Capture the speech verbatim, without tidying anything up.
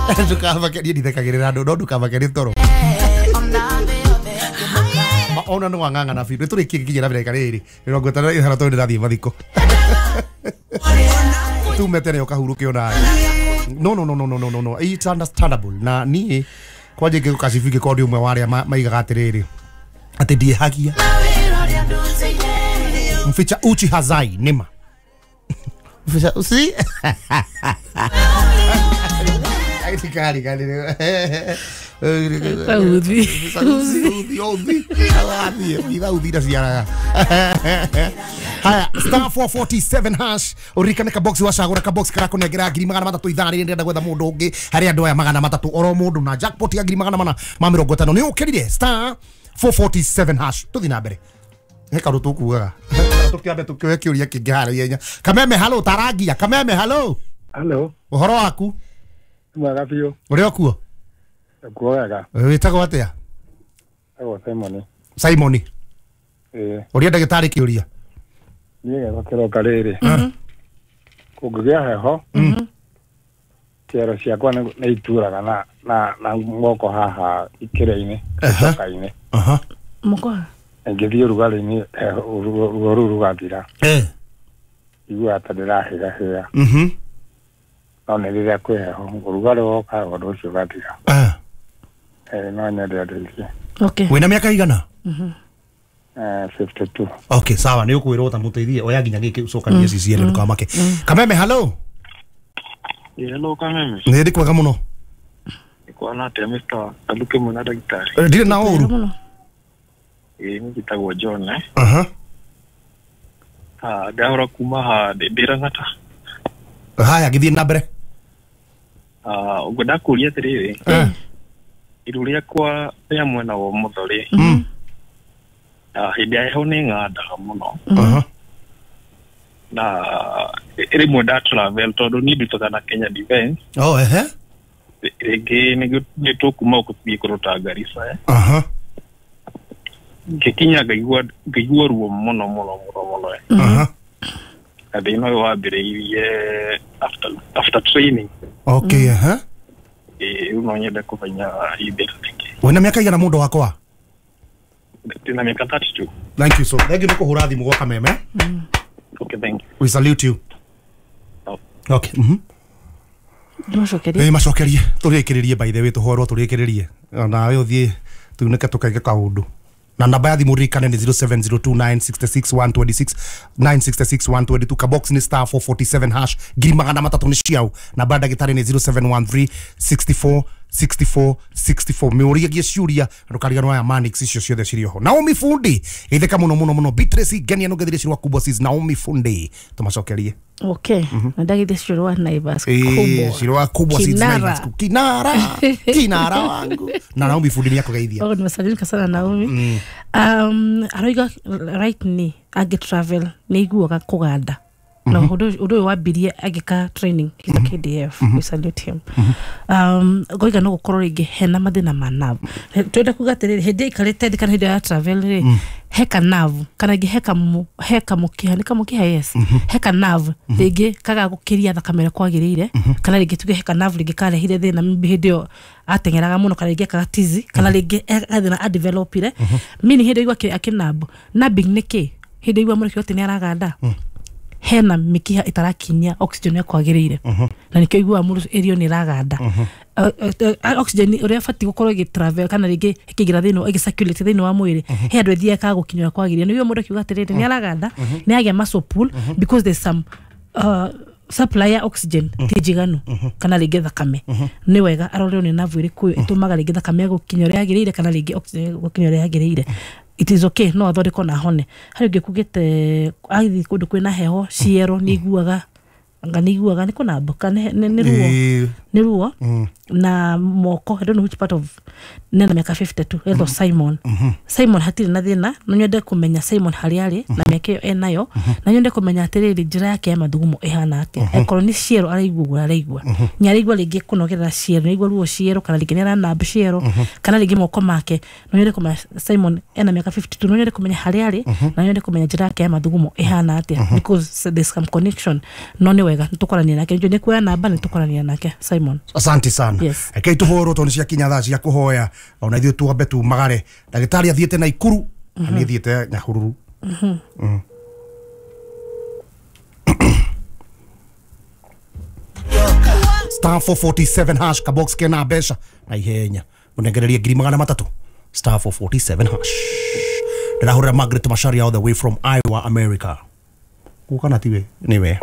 Ndukamake niĩ ndithekagĩrĩra andũ no ndukamake nĩ toro. Ma ona no wang'ang'ana biũ. Nĩtũrĩkie nginya na ndagĩka rĩrĩ mĩrongo ĩtano na ithano tondũ ndĩrathiĩ mathiko. Tume tene ũkahurũke onawe. No no no no no no no no it's understandable. Na niĩ kwanja ingĩgũkacibu ingĩkorwo ndĩ ũmwe wa arĩa maigaga atĩrĩrĩ atĩ ndiĩhagia. Mficha uchi hazai nĩma. Mficha usi Kari kari uthi uthi uthi uthi uthi ciaraga. Haya, star four forty-seven hash uririkane ka box wacagura ka box karakunengera ngiri magana matatu ithaa rĩrĩ ndĩrenda gwetha mũndũ ũngĩ harĩ andũ aya magana matatu oro mũndũ na jackpot ya ngiri magana mana ma mĩrongo ĩtano nĩ ũkĩrire star four forty-seven hash. Tũthiĩ na mbere he kaũndũ tũkugaga tũkĩambe tũkĩoe kĩũria kĩngĩ harĩa ihenya. Kameme halo tarangia. Kameme halo. Halo. Ũhoro waku? Mwega biũ. Ũrĩ o kuo? Kuo wega. Wĩtagwo atĩa? Etagwo Simon. Simon. Ĩĩ. Ũria ndagĩtarĩ kĩũria. Niĩ gĩakwa kĩroka rĩrĩ. Kũngĩgĩa heho ciero ciakwa nĩ ituraga na na na moko haha ikĩra-inĩ icoka-inĩ. Moko ngĩthiĩ ũrugarĩ-inĩ ruo rũu rũgathira. Eh. Iguaga ta ndĩrahĩgahĩga. Mhm. No nĩ rĩrĩa kwĩ heho ũrugarĩ woka ũndũ ũcio ũgathira. Eh. Eh, no nyende andeithie. Okay. Wĩna mĩaka igana? Mhm. Eh, fifty-two. Okay, sawa nĩ ũkwĩrwo ta mũteithie oya nginya gĩkĩ ũcokanie C C L ndũkamake. Kameme halo. Hello Kameme. Nĩ ndĩ kwega mũno. Nĩkuona atĩa Mister Kaluke mwena ndagĩtarĩ? Ndirĩ na ũru. Ĩĩ niĩ njĩtagwo John eh. Aha. Ah, ndahũra kuma ha ndĩ Lang'ata. Haya gĩthiĩ na mbere. Ah, ũguo ndakũria atĩrĩrĩ. Eh. Iru rĩakwa rĩa mwena wa ũmotho rĩ. Mm. Ah, hĩndĩ ya heho nĩ ng'andaga mũno. Aha. Na rĩmwe nda travel tondũ niĩ ndutaga na Kenya Defence. Oh ehe. Rĩngĩ nĩ tũkuma gũthiĩ kũruta Garissa eh. Aha. Ngĩkinya ngaigua ngaigua ruo mũno mũno mũno mũno eh. Aha. Na thĩna ũyũ wambĩrĩirie after after training. Okay, aha. Ĩĩ rĩu no nyende kũmenya ithĩra rĩngĩ. Wĩna mĩaka igana mũndũ wakwa? Ndĩna mĩaka thirty-two. Thank you so. Thank you nĩ kũhũra thimũ gwa Kameme. Okay, thank you. We salute you. Oh. Okay. Mhm. Macokerie. Eh macokerie. Tũrĩkĩrĩrie by the way tũhorwo tũrĩkĩrĩrie. Nawe ũthiĩ tunĩke tũkaige kaũndũ. Na namba ya thimũ ririkane nĩ zero seven zero two nine six six one two six nine six six one two two. Kabox nĩ star four forty-seven hash ngiri magana matatũ nĩ ciao. Namba ya ndagĩtarĩ nĩ zero seven one three six four six four six four. Mĩũriagie ciũria ndũkariganwo ya Manix icio ciothe cirĩ oho. Naomi Fundi geithĩka mũno mũno mũno. Beatrice Ngenia nũngethire cirwa kubwa sis Naomi Fundi tũmacokerie. Okay. Na ndagĩthie cirwa Naivas kubwa. Cirwa kubwa sis Naivas kinara kinara wangu. Na Naomi Fundi nĩ akũgeithia. Oh, nimesalimika sana Naomi. Mm. Um, aroiga right ni age travel nĩ iguaga kũganda. No, ũndũ ũyũ wambirie agĩka training he's a K D F. We salute him. Um, goiga no gũkorwo rĩngĩ hena mathĩna ma nerve. Twenda kuga atĩrĩrĩ hĩndĩ ĩikarĩte thĩ kana hĩndĩ ya travel rĩ heka nerve kana rĩngĩ heka heka mũkiha nĩ kamũkiha yes heka nerve rĩngĩ kaga gũkĩria thakame ĩrĩa kwagĩrĩire kana rĩngĩ tuge heka nerve rĩngĩ karehire thĩna hĩndĩ ĩyo ateng'eraga mũno kana rĩngĩ ekaga tizi kana rĩngĩ gathĩna adevelopire meaning hĩndĩ ĩyo akĩnambo nabbing nĩ kĩ hĩndĩ ĩyo mũrĩki atĩ nĩ araganda hena mikiha itarakinyia oxygen ya kwagĩrĩire na nikĩo iguaga mũndũ ĩrio nĩ ĩraganda oxygen ũrĩa batiĩ gũkorwo ĩgĩ kana rĩngĩ ĩkĩingĩra thĩinĩ ĩgĩ circulate thĩinĩ wa mwĩrĩ he andũ ĩthiaga ĩkaga gũkinyĩra kwagĩrĩire nĩguo mũndũ akiuga atĩrĩrĩ nĩ araganda nĩ agĩa muscle pull because there's some uh, supply ya oxygen ti njiganu kana rĩngĩ thakame nĩ wega arorerwo nĩ nerve ĩrĩkũ ĩtũmaga rĩngĩ thakame gũkinya ũrĩa yagĩrĩire kana rĩngĩ oxygen gũkinya ũrĩa yagĩrĩire. It is okay no athondekwo na hone harĩ ũngĩ kugĩte agĩthiĩ kũndũ kwĩna heho ciero nĩ iguaga anga nĩ iguaga nĩ kũnamboka nĩ ruo nĩ ruo na moko I don't know which part of nena mĩaka fifty-two etwo Simon. Simon hatirĩ na thĩna no nyende kũmenya Simon harĩa arĩ na mĩaka ĩyo enayo na nyende kũmenya atĩrĩrĩ njĩra yake ya mathugumo ĩhana atĩa akorwo nĩ ciero araigua ũguo araigua nĩ araigua rĩngĩ kũnogerera ciero nĩ araigua ruo ciero kana rĩngĩ nĩ aranamba ciero kana rĩngĩ moko make no nyende kũmenya Simon ena mĩaka fifty-two no nyende kũmenya harĩa arĩ na nyende kũmenya njĩra yake ya mathugumo ĩhana atĩa because there's some connection no nĩ wega nĩ tũkwarania nake nĩ kuoya namba nĩ tũkwarania nake Simon. Asante sana. sana. Yes. Rekei tũhũrwo tondũ nĩ ciakinya thaa cia kũhoya, ona ithuĩ twambe tumagare. Ndagĩtarĩ athiĩte Naikuru na niĩ thiĩte Nyahururu. Mm. Star four forty-seven hash, kabox kena mbeca na ihenya mũnengererie ngiri magana matatũ. Star four forty-seven hash. Ndĩrahũrĩra Margaret Macharia all the way from Iowa, America. Gũka na tiwe nĩwe.